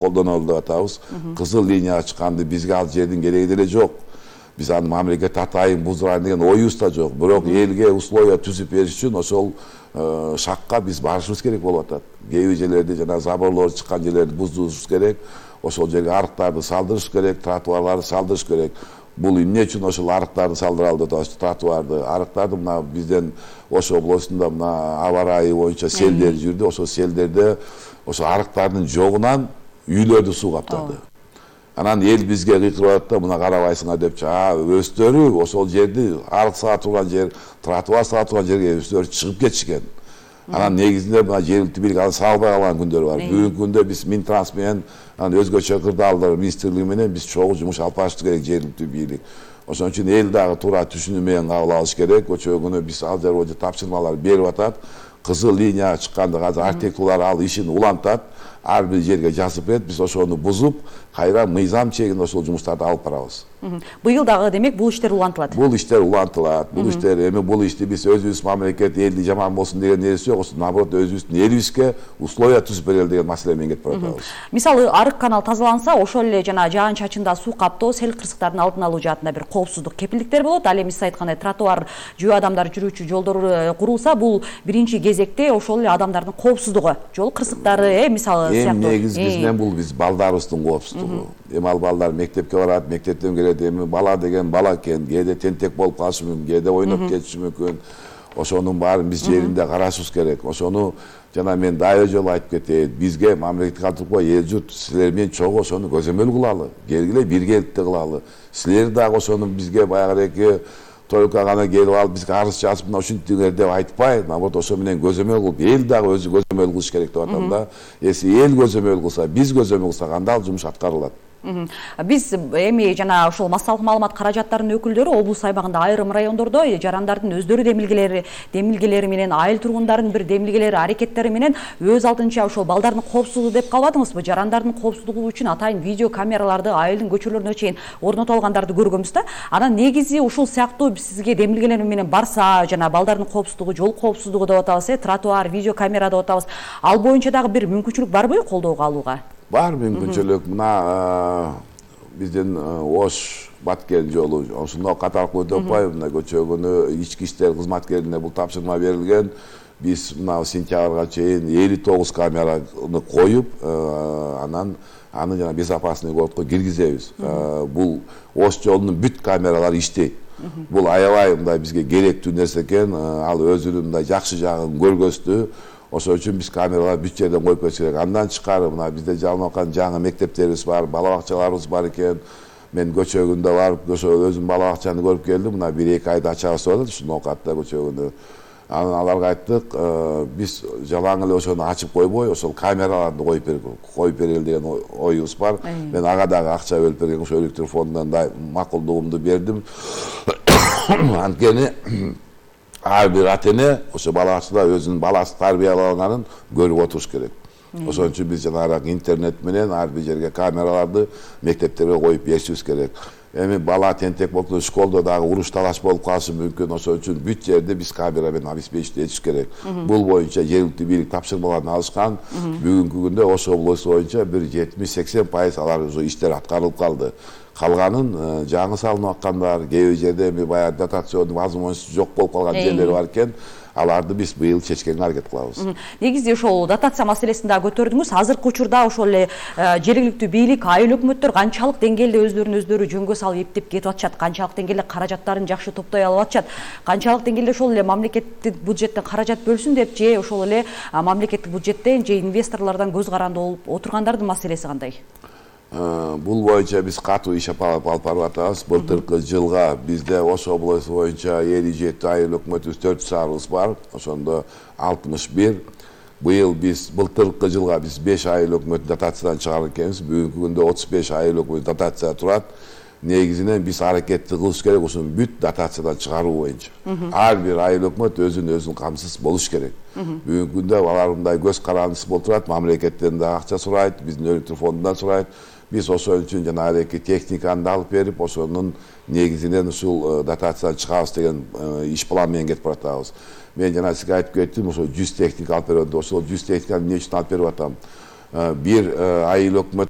колдонолу деп атабыз. Кызыл линияга чыкканды бизге ал жердин кереги деле жок. Биз аны мамлекет атайын буздурайын деген оюбуз да жок. Бирок элге условия түзүп бериш үчүн ошол шакка биз барышыбыз керек болуп атат. Кээ бир жерлерде жана заборлор чыккан жерлерди буздурушубуз керек. Ошол жерге арыктарды салдырыш керек, тротуарларды салдырыш керек. Бул эмне үчүн ошол арыктарды салдыралы деп атабыз, тротуарды. Арыктарды мына бизден Ош облусунда мына аба ырайы боюнча селдер жүрдү. Ошол селдерде ошо арыктардын жогунан үйлөрдү суу каптады. Анан эл бизге кыйкырып атат да, мына карабайсыңар депчи. Өздөрү ошол жерди арык сала турган жер, тротуар сала турган жерге өздөрү чыгып кетишкен. Анан негизинде мына жергиликтүү бийлик аны салбай калган күндөр бар. Бүгүнкү күндө биз Минтранс менен өзгөчө кырдаалдар министрлиги менен биз чогуу жумуш алып барыштык керек жергиликтүү бийлик. Ошон үчүн эл дагы туура түшүнүү менен кабыл алыш керек. Өчө күнү биз ал жерге тапшырмалар берип атат. Кызыл линияга чыкканда азыр архитекторлор ал ишин улантат. Ар бир жерге жазып берет, биз ошону бузуп, кайра мыйзам чегинде ошол жумуштарды алып барабыз. Быйыл дагы демек бул иштер улантылат. Бул иштер улантылат. Бул иштер эми бул ишти биз өзүбүз мамлекет элди жаман болсун деген нерсе жок. Наоборот өзүбүздүн элибизге условия түзүп берели деген маселе менен кетип баратабыз. Мисалы арык канал тазаланса, ошол эле жана жаан чачында суу каптоо, сел кырсыктардын алдын алуу жаатында бир коопсуздук кепилдиктер болот. Ал эми сиз айткандай тротуар, жөө адамдар жүрүүчү жолдор курулса, бул биринчи кезекте ошол эле адамдардын коопсуздугу, жол кырсыктары, мисалы сыяктуу. Эми негиз бизден бул биз балдарыбыздын коопсуздугу. Эми ал балдар мектепке барат, мектептен келет. Эми бала деген бала экен, кээде тентек болуп калышы мүмкүн, кээде ойноп кетиши мүмкүн. Ошонун баарын биз жеринде карашыбыз керек. Ошону жана мен дайы жолу айтып кетейин. Бизге мамлекет калтырбай эл журт силер менен чогуу ошону көзөмөл кылалы. Келгиле биргеликте кылалы. Силер дагы ошону бизге баягыдеки только гана келип алып бизге арыз жазып мына ушинтиңер деп айтпай, наоборот ошо менен көзөмөл кылып, эл дагы өзү көзөмөл кылыш керек деп атам да. Эси эл көзөмөл кылса, биз көзөмөл кылсак, анда ал жумуш аткарылат. Биз эми жана ошол массалык маалымат каражаттарынын өкүлдөрү облус аймагында айрым райондордо жарандардын өздөрү демилгелери менен, айыл тургундардын бир демилгелери, аракеттери менен өз алдынча ошол балдардын коопсуздугу деп калбадыңызбы? Жарандардын коопсуздугу үчүн атайын видео камераларды айылдын көчөлөрүнө чейин орнотуп алгандарды көргөнбүз да. Анан негизи ушул сыяктуу сизге демилгелер менен барса, жана балдардын коопсуздугу, жол коопсуздугу деп атабыз, тротуар, видео камера деп атабыз. Ал боюнча дагы бир мүмкүнчүлүк барбы колдоого алууга? Бар мүмкүнчүлүк. Мына биздин Ош Баткен жолу ошондо катаркы өтүп атпайбы? Мына көчө күнү ички иштер кызматкерине бул тапшырма берилген. Биз мына сентябрга чейин 59 камераны коюп, анан аны жана безопасный городко киргизебиз. Бул Ош жолунун бүт камералары иштейт. Бул аябай мындай бизге керектүү нерсе экен. Ал өзүнүн мындай жакшы жагын көргөздү. Ошол үчүн биз камераларды бүт жерден коюп кетиш керек. Андан тышкары мына бизде жалынып аткан жаңы мектептерибиз бар, бала бакчаларыбыз бар экен. Мен көчө күндө барып, ошо өзүм бала бакчаны көрүп келдим. Мына 1-2 айда ачабыз деп атат, ушул ноокатта көчө күндө. Анан аларга айттык, биз жалаң эле ошону ачып койбой, ошол камераларды коюп берели деген оюбуз бар. Мен ага дагы акча бөлүп берген, ошо электр фондунан да макулдугумду бердим. Анткени ар бир ата эне ошо бала бакчада өзүнүн баласы тарбияланганын көрүп отуруш керек. Ошон үчүн биз жанагы интернет менен ар бир жерге камераларды мектептерге коюп беришибиз керек. Эми бала тентек болуп, школдо дагы уруш талаш болуп калышы мүмкүн. Ошон үчүн бүт жерде биз камера менен обеспечить этиш керек. Бул боюнча жергиликтүү бийлик тапшырмаларын алышкан. Бүгүнкү күндө Ош облусу боюнча бир 70-80% алар уже иштер аткарылып калды. Калганын жаңы салынып аткандар, кээ бир жерде эми баягы дотационный возможность жок болуп калган жерлер бар экен. Аларды биз быйыл чечкенге аракет кылабыз. Негизи ошол дотация маселесин да көтөрдүңүз. Азыркы учурда ошол эле жергиликтүү бийлик, айыл өкмөттөр канчалык деңгээлде өздөрү жөнгө салып эптеп кетип атышат, канчалык деңгээлде каражаттарын жакшы топтой алып атышат, канчалык деңгээлде ошол эле мамлекеттик бюджеттен каражат бөлсүн деп же ошол эле мамлекеттик бюджеттен же инвесторлордон көз каранды болуп отургандардын маселеси кандай? Бул боюнча биз катуу иш алып барып атабыз. Былтыркы жылга бизде Ош облусу боюнча 57 айыл өкмөтүбүз 4 шаарыбыз бар. Ошондо 61. Быйыл биз былтыркы жылга биз 5 айыл өкмөтүн дотациядан чыгарып экенбиз. Бүгүнкү күндө 35 айыл өкмөтү дотация турат. Негизинен биз аракетти кылыш керек ушуну бүт дотациядан чыгаруу боюнча. Ар бир айыл өкмөт өзүн камсыз болуш керек. Бүгүнкү күндө алар мындай көз карандысыз болуп турат, мамлекеттен да акча сурайт, биздин электр фондунан сурайт. Биз ошол үчүн жанагы техниканы да алып берип, ошонун негизинен ушул дотациядан чыгабыз деген иш план менен кетип баратабыз. Мен жана сизге айтып кеттим, ошол 100 техника алып берип, ошол 100 техниканы эмне үчүн алып берип атам? Бир айыл өкмөт